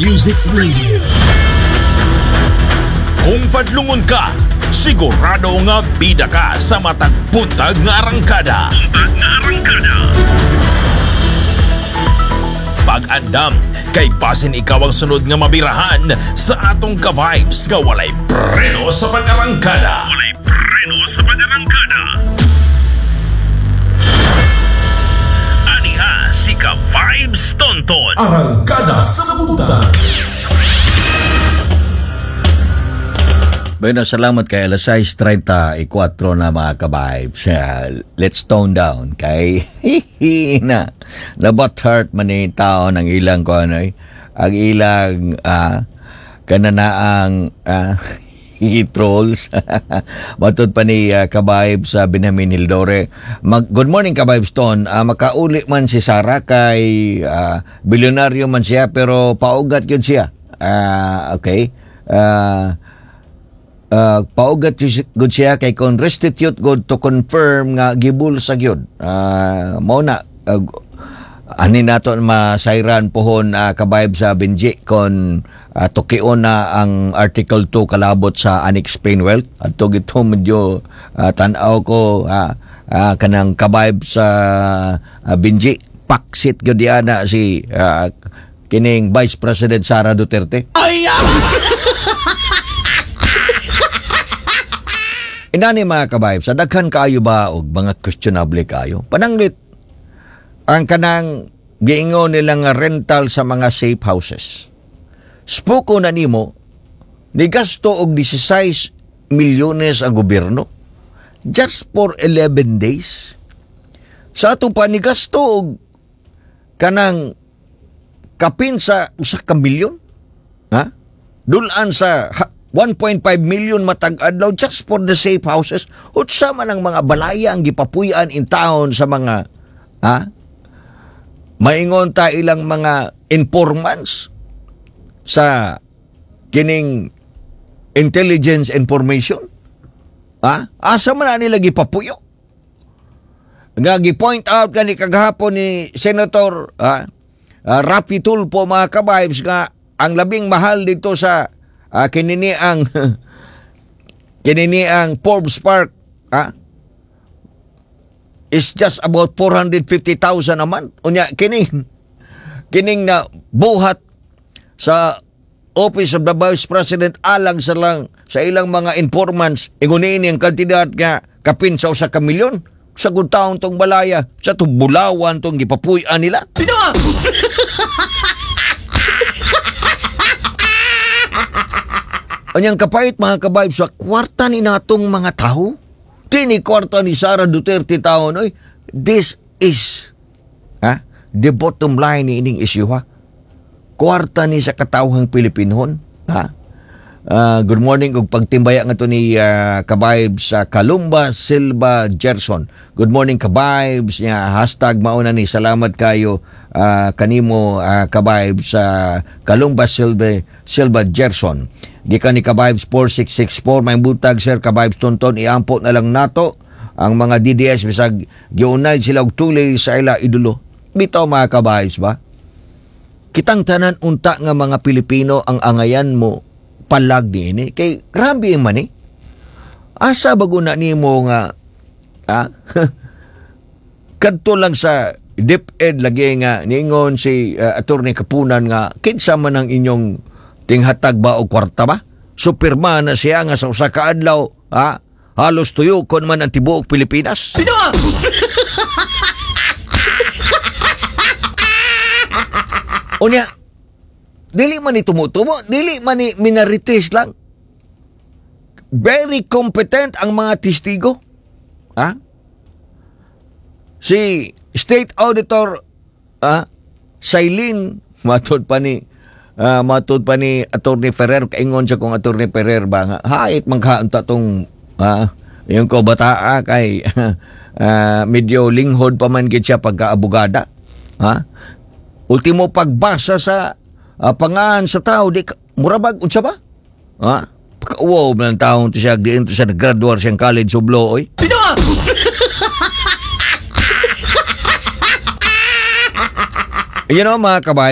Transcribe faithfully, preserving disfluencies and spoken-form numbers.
Music Radio. Kung padlungon ka, sigurado nga bida ka sa matag buntag nga arangkada. Buntag nga arangkada. Pag-andam, kay basin ikaw ang sunod nga mabirahan sa atong ka-vibes nga walay preno sa pag-arangkada. Walay preno sa pag-arangkada. Aniha si Ka-Vibes Tonton. Arangkada sa buntag. Bueno, salamat kay alas sais trenta y kuwatro na, mga ka-vibes. Uh, let's tone down kay na na heart man ni tao ng ilang ko ano eh, ang ilang uh, kananaang uh, trolls. Matod pa ni uh, ka-vibes sa uh, Benjamin Hildore. Mag, good morning, ka-vibes Ton. Uh, makauli man si Sara kay uh, bilyonaryo man siya pero paugat yun siya. Uh, okay. Uh, uh, paugat gud siya kay kon restitute god to confirm nga gibulsa gyud. Uh, mao na uh, ani nato masayran pohon, uh, ka-vibe sa Benji, kon uh, tukion na ang Article two kalabot sa unexplained wealth adto gito medyo uh, tan-aw ko, uh, uh, kanang ka-vibe sa uh, Benji, paksit gyud na si uh, kining Vice President Sara Duterte. Ay! Inani, mga kabayb, sa daghan kaayo ba og mga questionable kayo. Pananglit ang kanang giingon nila nga rental sa mga safe houses. Spoko na nimo, ni gasto og sixteen milyones ang gobyerno just for eleven days. Sa ato pa ni gasto og kanang kapin sa usa ka milyon. Ha? Dulan sa one point five million matag adlaw just for the safe houses. Unsa man ang mga balaya ang gipapuy-an in town sa mga, ha? Maingon ta ilang mga informants sa kining intelligence information. Ha? Asa man na nila gipapuyo? Nga gi-point out kani kagahapon ni Senator, ha, uh, Raffy Tulfo, mga ka-vibes, nga ang labing mahal dito sa uh, kinini ang kinini ang Forbes Park, ha, is just about four hundred fifty thousand a month. Unya kini kining na buhat sa Office of the Vice President alang sa lang sa ilang mga informants, ingon ini ang kantidad nga kapin sa usa ka milyon sa good taon tong balaya sa tong bulawan tong gipapuy-an nila. Pino! Anyang kapait, mga kabayb, sa kwarta ni natong mga tao. Tini kwarta ni Sara Duterte tao noy. This is, ha, the bottom line ni ining issue, ha. Kwarta ni sa katawhang Pilipinhon, ha. Uh, good morning ug pagtimbaya nga to ni uh, ka-vibes sa Kalumba Silva Gerson. Good morning, ka-vibes niya, hashtag mauna ni. Salamat kayo uh, kanimo, uh, ka-vibes sa uh, Kalumba Silva Silva Gerson. Gikan ni ka-vibes four six six four, may butag sir ka-vibes Tonton, iampo na lang nato ang mga D D S bisag giunay sila og tulay sa ila idolo. Bitaw, mga ka-vibes ba? Kitang tanan unta nga mga Pilipino ang angayan mo palag ni ini kay grabe man eh. Asa bago na nimo nga, ah, kadto lang sa DepEd lagi nga niingon si uh, Attorney Kapunan nga kinsa man ang inyong tinghatag ba og kwarta ba? Superman na siya nga sa usa ka adlaw, ha, halos tuyokon man ang tibuok Pilipinas. Pino! Unya, dili man ni tumutumo, dili man ni minarites lang. Very competent ang mga testigo. Ha? Si State Auditor, ah, Sailin, matod pa ni uh, matod pa ni Attorney Ferrer, kaingon siya kung Attorney Ferrer ba nga hait maghaunta tong ah, yung ko bataa kay uh, medyo linghod pa man gid siya pagka-abogada. Ha? Ultimo pagbasa sa uh, pangahan sa tao di murabag unsa ba? Ha? Pagka-uwaw man ang taon to siya, diin to siya nag-graduate siyang college of law, oy. Pino! You know, mga kabahay,